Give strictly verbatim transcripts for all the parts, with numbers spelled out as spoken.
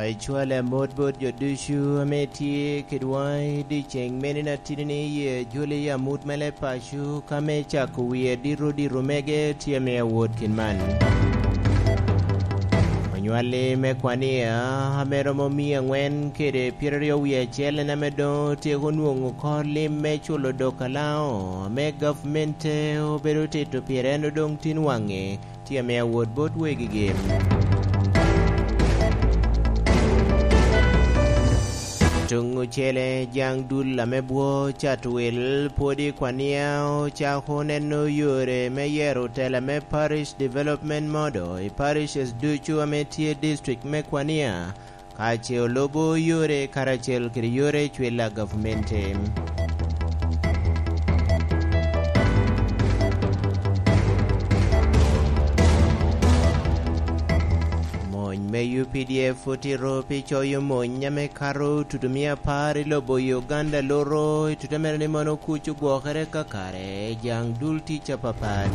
Ecwale amot bot jo ducu ame tye kedwa i dyeceŋ mene na tidi ni ye joli amut me leb paco ka me cako wie dito dito mege tye ame awot kin man. Onywalli me kwania ame romo mia angwen kede pyeraryo wie acel en ame doŋ otyeko nwoŋo kor lim me culo dok alaŋo ame gavmente obedo tito pire en odoŋ tin waŋe tye ame awot bot wegigi. Tuŋ ocele jaŋ dul ame bwo Catwil pwod i kwania ocako neno yore me yero tela me Parish Development Model i parishes ducu ame tye district me kwania, ka ce olubo yore karacel kede yore cwil a gavumenti. Mony me U P D F otito pi coyo mony ame kato tutumia apar i lobo Uganda loro i tute mere ni mono kuc ogwokere kakare i jaŋ dul tic apapat.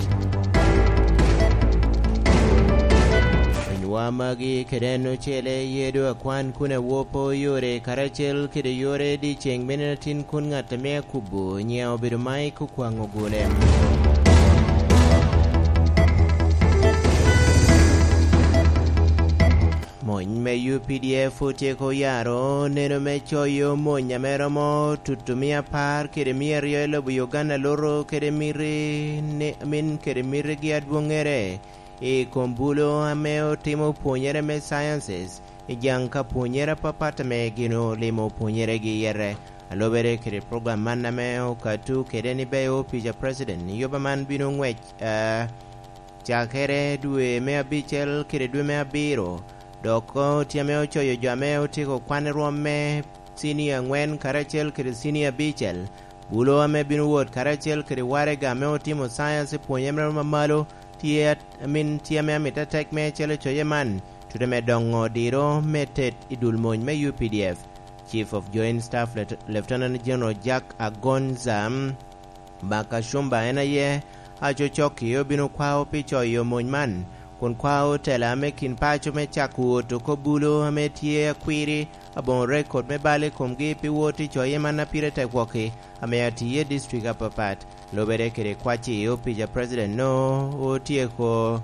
Onywa magi kede en ocele ye do akwan kun awopo yore karacel kede yore dyeceŋ mene atin kun ŋat ame akubo nyiŋe obedo Mike Okwaŋ Ogule. Mony me U P D F otyeko yaro neno me coyo mony ame romo tutumia apar kede mia aryo i lobo Uganda loro kede miti ni, min kede mitigi adwoŋŋere i kom bulo ame otimo pwonyere me sciences i jaŋ ka pwonyere apapat ame gin olimo pwonyeregi yete. Alobere kede program man ame okatu kede ni beyo opic a president, yuba man bino ngwec, eh, cakere dwe me abicel kede dwe me abiro, dok tye ame ocoyo jo ame otyeko kwan i rwom me cinia angwen karacel kede cinia abicel. Bulo ame bino wot karacel kede waraga ame otimo science i pwonye me romo malo tye at-, amin, tye ame amito atek me calo coye man, tute me doŋo diro me tet i dul mony me U P D F. Chief of Joint Staff Lieutenant General Jack Agonza Bakashumba en aye acocokki obino kwao pi coyo mony man, kun kwao tela me kin paco me cako wot oko bulo ame tye akwiri aboŋo rekod me bal i komgi pi wot i coye man a pire tek wokki ame atiye i district apapat. Lubere kede kwacci opic a president no otyeko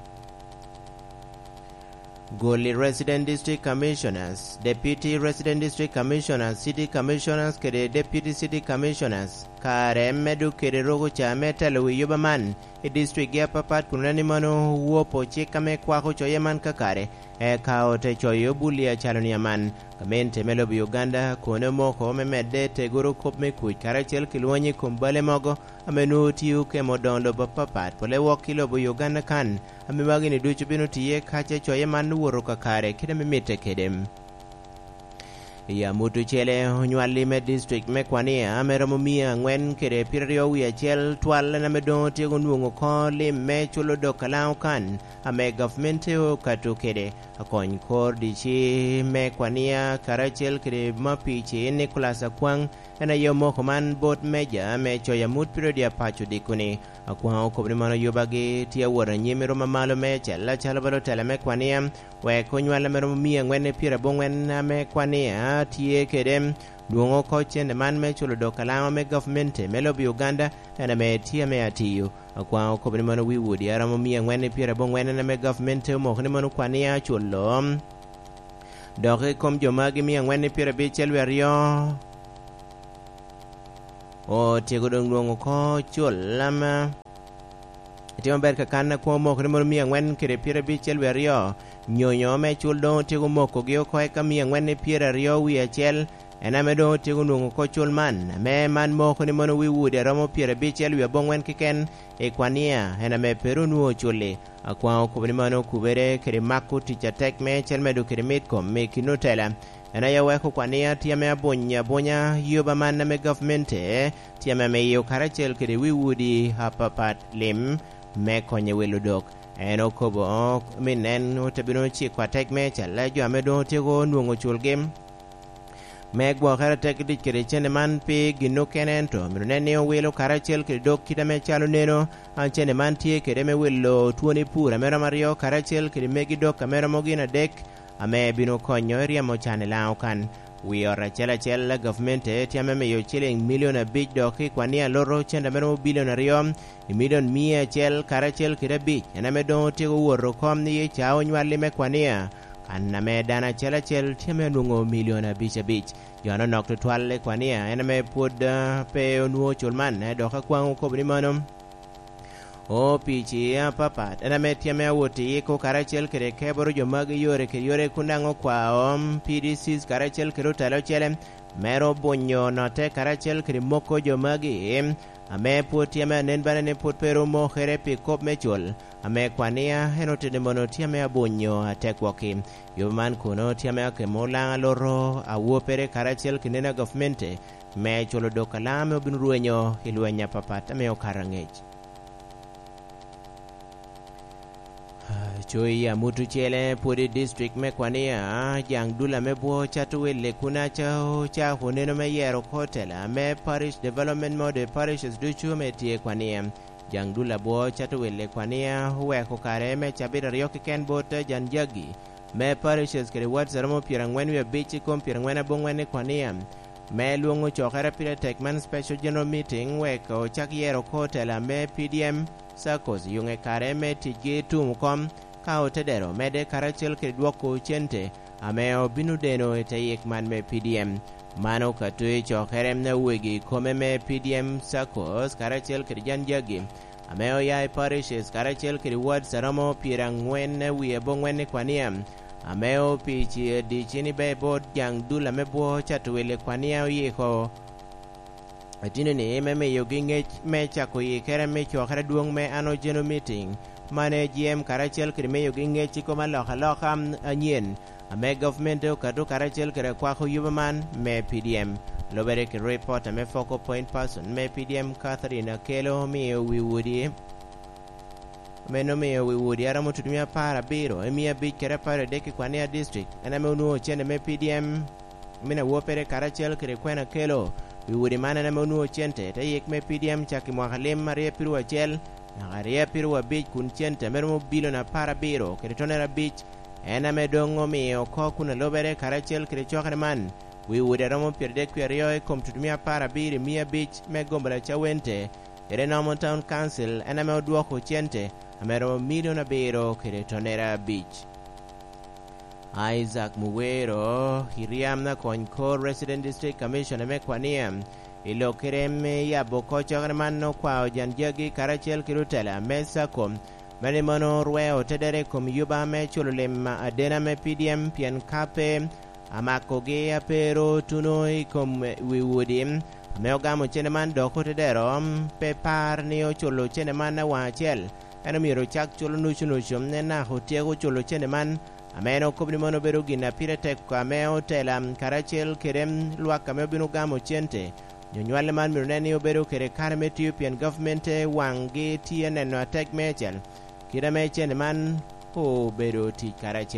gol i Resident District Commissioners, Deputy Resident District Commissioners, City Commissioners kede Deputy City Commissioners. Kare medo kede roko ca me telo wi yuba man i district gi apapat kun oneno ni mano wopo cik ame kwako coye man kakare, eka ote coyo bul i acalo ni aman. Gamente me lobo Uganda kono omoko me medde tegoro kop me kuc karacel ki lwony i kom bale mogo ame nwoŋo tio kemo doŋo lobo apapat, pole wok i lobo Uganda kan, ame magi-ni ducu bino tiye ka ce coye man owoto kakare kit ame mitte kede. I amut ocele, onywalli me district me Kwania ame romo mia angwen kede pyeraryo wie acel twal en ame doŋ otyeko nwoŋo oko lim me culo dok alaŋo kan ame gavmente okato kede. Akony kor D C me Kwania karacel kede mapici Nicholas Akwaŋ en aye omoko man bot meja me coyo amut pire odi apaco odiko ni, Akwaŋ okobo ni mono yubagi tye awot anyim i ruma malo meicel acalo bala otela me Kwania, wek onywal ame romo mia angwen i pyerabongwen ame Kwania tye kede, dwoŋo oko cente man me culo dok alaŋo me gavumenti me lobo Uganda en ame tye ame atiyo. Akwaŋ okobo ni mono wi wodi a romo mia angwen i pyerabongwen en ame gavumenti omoko ni mono Kwania culo. Dok i kom jo magi mia angwen i pyerabicel wie aryo, otyeko doŋ nwoŋo oko cul lam. Itimo ber ka kan akwo omoko ni mono mia angwen kede pyerabicel wie aryo, nyonyo me cul doŋ otyeko mokogi oko eka mia angwen i pyeraryo wie acel, en ame doŋ otyeko nwoŋo oko cul man, ame man moko ni mono wi wodi a romo pyerabicel wie abongwen keken i Kwania, en ame pe ru nwoŋo cul-li. Akwaŋ okobo ni mano okubere kede mako tic atek me cel medo kede mit kom me kin otela. En aye oweko Kwania tye ame abuny abunya yuba man ame gavmente tye ame miyo karacel kede wi wodi apapat lim me konyo wilo dok. En okobo, min en ote bino ciko atek me calla jo ame doŋ otyeko nwoŋo culgi. Me gwokere atek i tic kede cene man pi gin okene, ento myero nen ni owilo karacel kede dok kit ame calo neno, an cene man tye kede me wilo twoni pur ame romo aryo karacel kede megi dok ame romo gin adek, ame bino konyo i ryemo can i Laŋo kan. Wi ot acel acel, gavmente tye ame miyo ciliŋ milion abic dok i kwanni aloto cente ame romo bilion aryo i milion mia acel karacel kede abic, en ame doŋ otyeko wot oko i ca onywalli me kwania, kan ame dano acel acel tye ame onwoŋo milion abic abic. Jo ame onok tutwal i kwania en ame pwod, ah, pe onwoŋo cul man, eh, dok akwaŋ okobo ni mano. O P C apapat, en ame tye ame awot i yiko karacel kede keboro jo magi yore kede yore kun daŋ okwao P D Cs karacel kede otelo ocele, mero bunyo note karacel kede moko jo magi, ame pwod tye ame anen bene ni pwod pe ru mokere pi kop me cul, ame kwania en oteni mono tye ame abunyo ategwok-ki. Yo man kono tye ame akemo Laŋo aloto awopere karacel kede neno a gavmente, me culo dok a Laŋo ame obino rwenyo i lweny apapat ame okato aŋec. Coyi amut ocele pwod i district me kwania, jaŋ dul ame bwo cato welle kun aca ocako neno me yero oko tela me parish development mode parishes ducu ame tye i kwania. Jaŋ dul abwo cato welle i kwania oweko kare me cabit aryo keken bot jan jagi me parishes kede wards a romo pyeraŋwen wie abic i kom pyeraŋwen aboŋwen i kwania, me lwoŋo cokere pire tek man special general meeting wek ocak yero oko tela me P D M saccos, yuŋe kare me ticgi tum kom, ka otedero medde karacel kede dwoko cente ame obino deno i te yik man me P D M. Mano ka twe cokere a wegi kome me P D M saccos karacel kede jan jagi, ame oya i parishes karacel kede wards a romo pyeraŋwen wie aboŋwen i kwania, ame opici adicini be bot jaŋ dul ame bwo cato welle kwania oyiko. Atino ni me miyogi ŋec me cako yikere me cokere adwoŋ me Annual General Meeting, mano J M karacel kede miyogi ŋec i kom alokaloka anyen, ame gavmente okato karacel kede akwako yuba man me P D M. Lubere ki ripot ame focal point person me P D M Catherine Akello omiyo wi wodi, ame en omiyo wi wodi a romo tutumia apar abiro i mia abic kede apar adek i Kwania District, en ame onwoŋo cente me P D M, min awopere karacel kede kwena kelo. Wi wodi man en ame onwoŋo cente te yik me P D M cak i mwaka lim aryo apiro acel naka aryo apiro abic, kun cente ame romo bilion apar abiro kede tonere abic, en ame doŋ omiyo oko kun alubere karacel kede cokere man. Wi wodi a romo pyeradek wie aryo i kom tutumia apar abiro i mia abic me gomboloa Cawente, kede Normal Town Council, en ame odwoko cente ame romo milion abiro kede tonere abic. Isaac Muwero, Iriam Nakony Kor, Resident District Commissioner me Kwania, i lok kede me yabo oko cokere man okwao jan jagi karacel kede otela me saccos, mene mono orweo tedere i kom yuba me culo lim adena me P D M, pien ka pe amakogi a pe ru tuno i kom wi wodi ame ogamo cene man dok otedero, pe par ni oculo cene man awaŋ acel, en omyero ocak culo nucu nucu, en naka otyeko culo cene man, ame en okobo ni mano obedo gin a pire tek ame otela karacel kede lwak ame obino gamo cente. Onyo nywale man myero nen ni obedo kede kare me tiyo pien gavmente waŋgi tye neno atek meicel, kit ame cene man obedo tic karacel.